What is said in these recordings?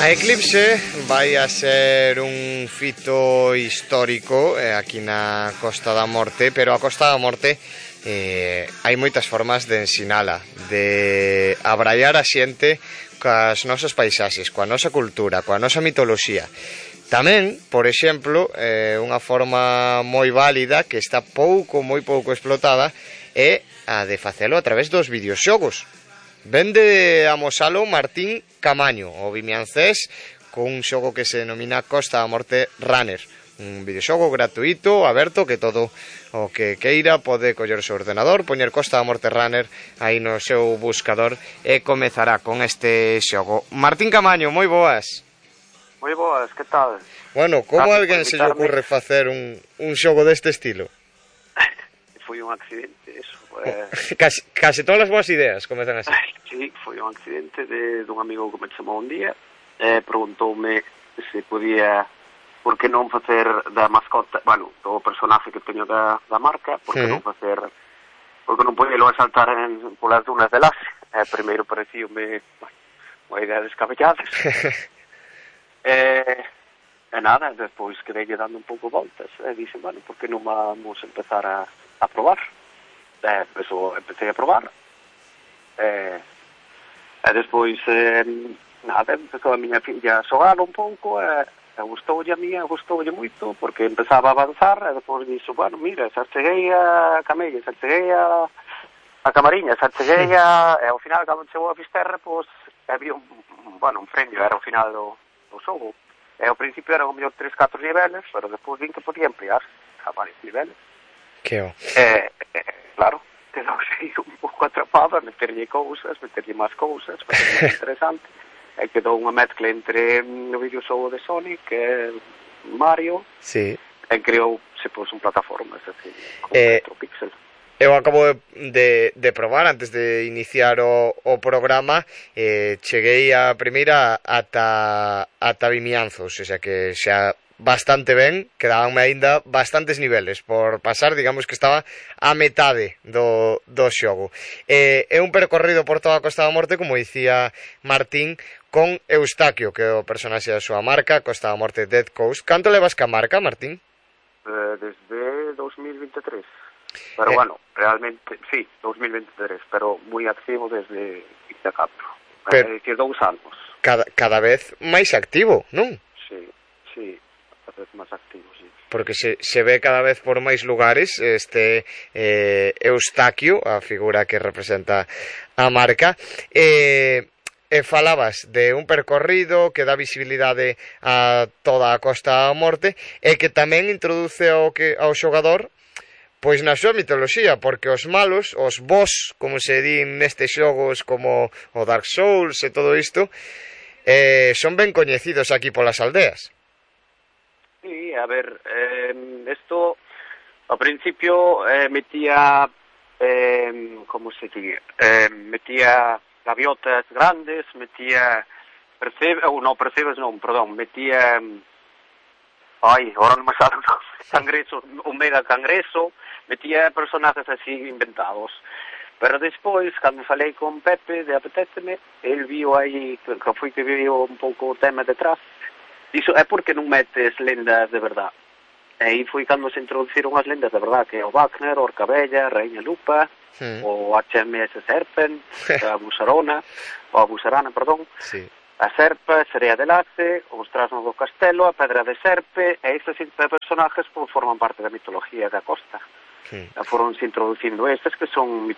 A Eclipse vai a ser un fito histórico aquí na Costa da Morte, pero a Costa da Morte hai moitas formas de ensinala, de abraiar a xente coas nosas paisaxes, coa nosa cultura, coa nosa mitoloxía. Tamén, por exemplo, unha forma moi válida que está moi pouco explotada é a de facelo a través dos videoxogos. Vende a mosalo Martín Camaño, o vimiancés, con un xogo que se denomina Costa da Morte Runner. Un videoxogo gratuito, aberto, que todo o que queira pode coller o seu ordenador, poñer Costa da Morte Runner aí no seu buscador e comezará con este xogo. Martín Camaño, moi boas. Moi boas, que tal? Bueno, como a alguén se lle ocurre facer un xogo deste estilo? Foi un accidente, eso. Case todas as boas ideas comezan así. Sí, foi un accidente dun amigo que me chamou un día preguntoume se podía, por que non facer da mascota, bueno, do personaje que teño da marca, por que non facer, porque non podelo saltar polas dunas de Laxe. Primeiro parecíame unha idea descabellada. E nada, despois quedei dando un pouco voltas e dixen, bueno, por que non vamos empezar a probar? Eso, empecé a probar e despois nada, empezou a miña filla a xogar un pouco e gustoulle a mía, gustoulle moito porque empezaba a avanzar e despois dixo, bueno, mira, xa cheguei a Camelle, xa cheguei a Camariña, xa cheguei e ao final cando chegou a Fisterra, pois había un premio, era o final do xogo e ao principio eran o mellor 3-4 niveles, pero despois vin que podía ampliar a varios niveles. Claro, quedouse un pouco atrapada, meterlle máis cousas, para ser máis interesante. E quedou unha mezcla entre o videoxogo de Sonic e Mario, sí. E creouse un plataforma, así, con 4 píxeles. Eu acabo de probar antes de iniciar o programa, cheguei a primeira ata Vimianzos, o sea que xa bastante ben, quedabanme aínda bastantes niveles por pasar, digamos que estaba a metade do xogo. É un percorrido por toda a Costa da Morte, como dicía Martín, con Eustaquio, que é o personaxe da súa marca, Costa da Morte Dead Coast. Canto levas ca marca, Martín? Desde 2023. Pero bueno, realmente, sí, 2023, pero moi activo desde 24. Que 2 anos. Cada vez máis activo, non? Sí, cada vez máis activo, sí. Porque se ve cada vez por máis lugares este Eustaquio, a figura que representa a marca, e falabas de un percorrido que dá visibilidade a toda a Costa da Morte e que tamén introduce ao xogador pois na súa mitoloxía, porque os malos, os boss, como se din nestes xogos como o Dark Souls e todo isto, son ben coñecidos aquí polas aldeas. Sí, a ver, esto ao principio metía, como se diría, metía gaviotas grandes, metía percebes non, metía, ahora non me sale cangreso, un mega cangreso, metía personajes así inventados. Pero despois, cando falei con Pepe de Apetéceme, el viu aí, que foi que viu un pouco o tema detrás, dixo, é porque non metes lendas de verdad. E aí foi cando se introduciron as lendas de verdad, que é o Wagner, o Orcabella, Raíña Lupa, o HMS Serpent, a Busarana, sí. A Serpa, Serea de Laxe, os Trasnos do Castelo, a Pedra de Serpe, e estes personajes forman parte da mitoloxía da costa. Foron se introducindo estes que son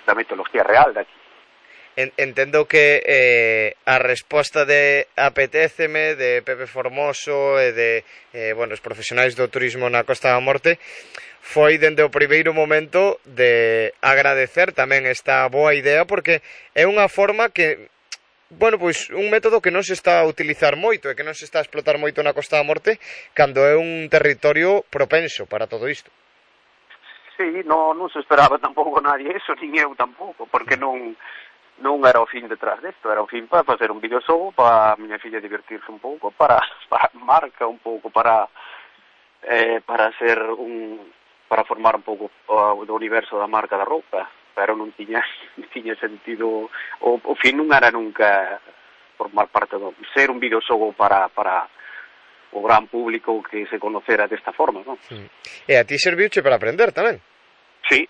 da mitoloxía real daqui. Entendo que a resposta de Apetéceme, de Pepe Formoso e de os profesionais do turismo na Costa da Morte foi dende o primeiro momento de agradecer tamén esta boa idea, porque é unha forma que pois un método que non se está a utilizar moito e que non se está a explotar moito na Costa da Morte cando é un territorio propenso para todo isto. Sí, non se esperaba tampouco nadie eso, nin eu tampouco, porque non era o fin detrás desto, era o fin para facer un videoxogo para a miña filla divertirse un pouco, para marca un pouco, para formar un pouco do universo da marca da roupa, pero non tiña sentido, o fin non era nunca formar parte ser un videoxogo para o gran público que se conocera desta forma, non? E a ti serviuche para aprender tamén? Sí,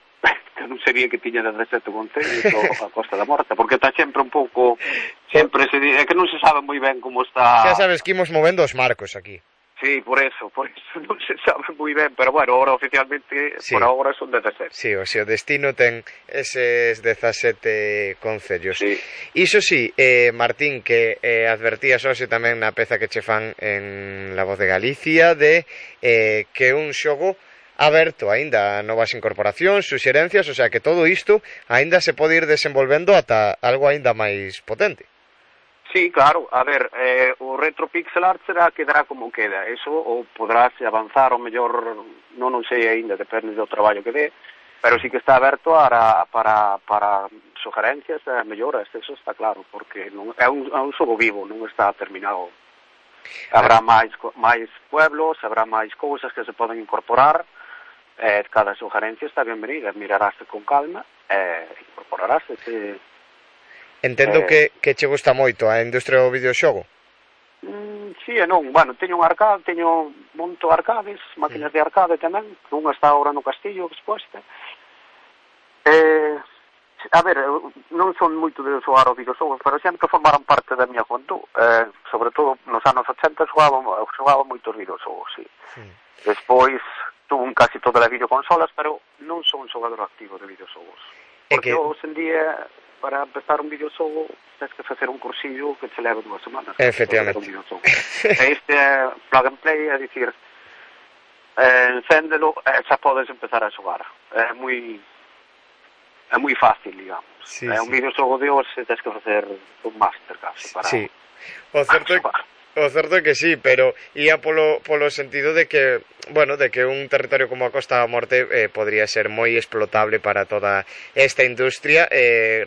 que non sabía que tiña 17 concellos a Costa da Morta, porque está sempre un pouco, sempre se di, é que non se sabe moi ben como está. Xa sabes que imos movendo os marcos aquí. Sí, por eso non se sabe moi ben, pero bueno, ahora oficialmente, sí. Por agora son 17. Sí, o sea, o destino ten eses 17 concellos. Sí. Iso sí, Martín, que advertías hoxe tamén na peza que che fan en La Voz de Galicia de que un xogo aberto aínda a novas incorporacións, suxerencias, o sea que todo isto aínda se pode ir desenvolvendo ata algo aínda máis potente. Sí, claro, a ver, o retro pixel art quedará como queda, eso, ou podrás avanzar o mellor, non sei aínda, depende do traballo que dé, pero sí que está aberto para sugerencias e melloras, eso está claro, porque non, é un xogo vivo, non está terminado. Habrá máis pueblos, habrá máis cousas que se poden incorporar, cada sugerencia está bienvenida, miraráse con calma e incorporaráse, Entendo que che gusta moito a industria do videoxogo. Sí e non, bueno, teño un arcade, monto arcades, máquinas de arcade tamén, unha está agora no Castillo exposta. A ver, non son moito de xogar os videoxogos, pero sempre formaron parte da miña juventud, sobre todo nos anos 80 xogaba moitos videoxogos, sí. Despois tuve casi todas as videoconsolas, pero non son un xogador activo de videoxogos. Porque hoxe en día, para empezar un videoxogo, tens que facer un cursillo que te leva 2 semanas. Efectivamente. Este plug and play, é dicir, encéndelo e xa podes empezar a xogar. É moi fácil, digamos. Sí, un videoxogo de hoxe tens que facer un máster casi para xogar. O certo é que sí, pero ia polo sentido de que, bueno, de que un territorio como a Costa da Morte podría ser moi explotable para toda esta industria.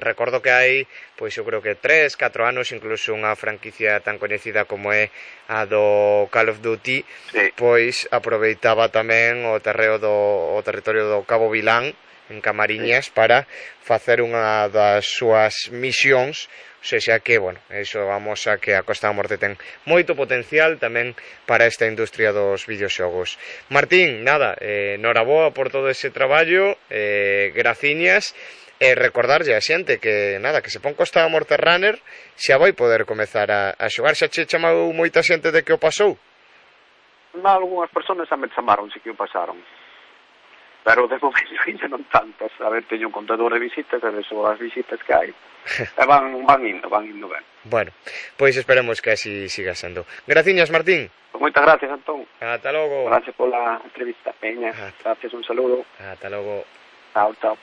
Recordo que hai, pois eu creo que 3, 4 anos, incluso unha franquicia tan coñecida como é a do Call of Duty, sí. Pois aproveitaba tamén o territorio do Cabo Vilán, en Camariñas, para facer unha das súas misións. O sea que, bueno, eso vamos a que a Costa da Morte ten moito potencial tamén para esta industria dos videoxogos. Martín, nada, noraboa por todo ese traballo, graciñas, e recordarlle a xente que, nada, que se pon Costa da Morte Runner, xa vai poder comezar a xogar. Xa che chamou moita xente de que o pasou? Algúnas persoas xa me chamaron, si que o pasaron. Pero de momento ainda non tantas. A ver, teño un contador de visitas, e son as visitas que hai. E van indo ben. Bueno, pois esperemos que así siga sendo. Graciñas, Martín. Pues moitas gracias, Antón. Ata logo. Gracias pola entrevista, Peña. Gracias, un saludo. Ata logo. Chao.